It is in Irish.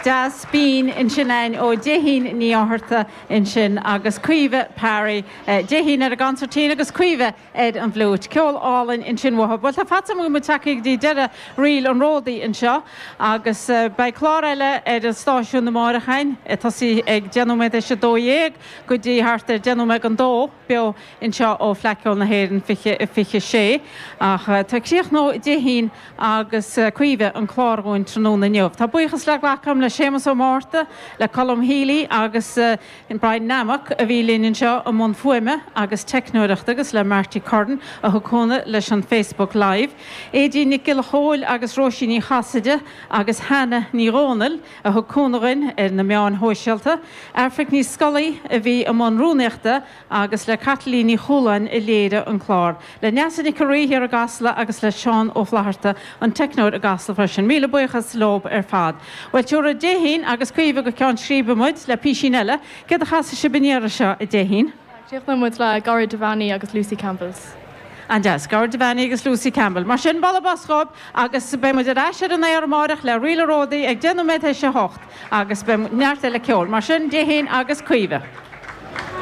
deas binn ansin againn ó Déithín Ní Fhátharta ansin agus Caoimhe Parry. Déithín ar an gconsairtín agus Caoimhe ar an bhfliúit. Ceol álainn ansin uathu. Bhuel, tá faighte agam go bhfuil muid tagtha go dtí deireadh Ríl an Ródaí anseo agus beidh clár eile ar an stáisiún amáireach againn, ag tosaí ag 12 nóiméad théis 12 go dtí thart ar 10 nóiméad don dó, beo anseo ó Fleadh Cheoil na hÉireann 2026. Ach tá críochnóidh Déithín agus Caoimhe an clár dhúinn tráthnóna inniu. Tá buíochas le glacadh agam le Séamus Ó Márta, le Colm Healy agus Brian Nammock a bhí linn anseo i mbun fuaime agus teicneoireachta agus le Marty Curran a thug cúnamh leis an Facebook Live, Aedín Nic Giolla Chóill agus Róisín Ní Chasaide agus Hannah Ní Dhomhnaill a thug cúnamh dhuinn ar na meáin shóisialta, Aifric Ní Scolaí a bhí i mbun rúnaíochta agus le Caitlín Ní Chualáin a léirigh an clár. Le Neasa Nic an Rí thiar i gCasla agus le Seán Ó Flatharta, an teicneoir i gCasla freisin. Míle buíochas leob ar fad. Bhuel, tiúrfaidh Déithín agus Caoimhe go Ceann Scríbe muid le písín eile. Céard a chasfaidh sibh an iarraidh seo, a Déithín? Críochnóidh muid le Gearóid Devaney agus Lucy Campbell's. An-deas. Gearóid Devaney agus Lucy Campbell. Mar sin, bualadh bos dhóibh agus beidh muid ar ais ar an aer amáireach le Ríl an Ródaí ag 8:10 agus beidh neart eile ceoil. Mar sin, Déithín agus Caoimhe.